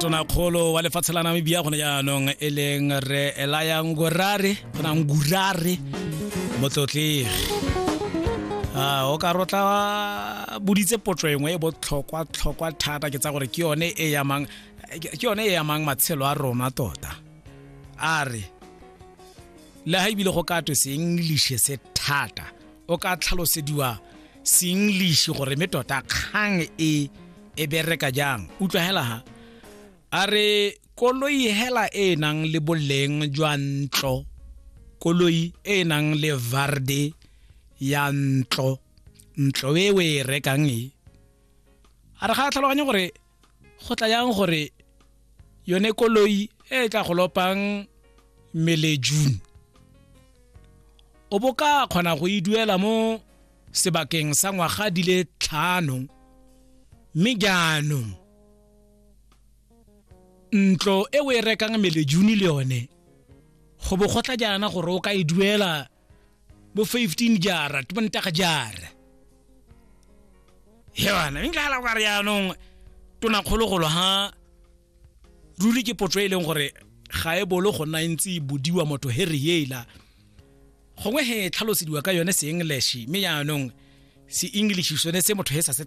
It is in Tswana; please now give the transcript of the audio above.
Tonakgolo wa lefatshe la Namibia gone jaanong e leng re Elaya Ngurare, gona Ngurare motlotlegi. A o ka rotla boditse potso engwe e botlhokwa tlhokwa thata, ke tsa gore ke yone e yamang, ke yone e yamang matshelo a rona tota. A re le ha ebile go ka twe se English se thata, o ka tlhalosediwa se English gore me tota kgang e e bereka jang. Utlwa hela ha a re koloi hela e nang le boleng jwa ntlo, koloi e nang le varde ya ntlo, ntlo e o e rekang e, a re ga a tlhaloganye gore go tla yang gore yone koloi e tla go lopang mmele June o bo ka kgona go e duela mo sebakeng sa ngwaga di le 5, mme jaanong ntlo e o e rekang mmele June le yone go bo go tla jaana gore o ka e duela bo 15 jara tibontaga jara. Hewana nka la ka re jaanong tonakgologolo ha ruri ke potso e leng gore ga e bolo go nna e ntse e bodiwa motho he re ela gongwe he tlhalosediwa ka yone se English, mme jaanong se English sone se motho he sa se.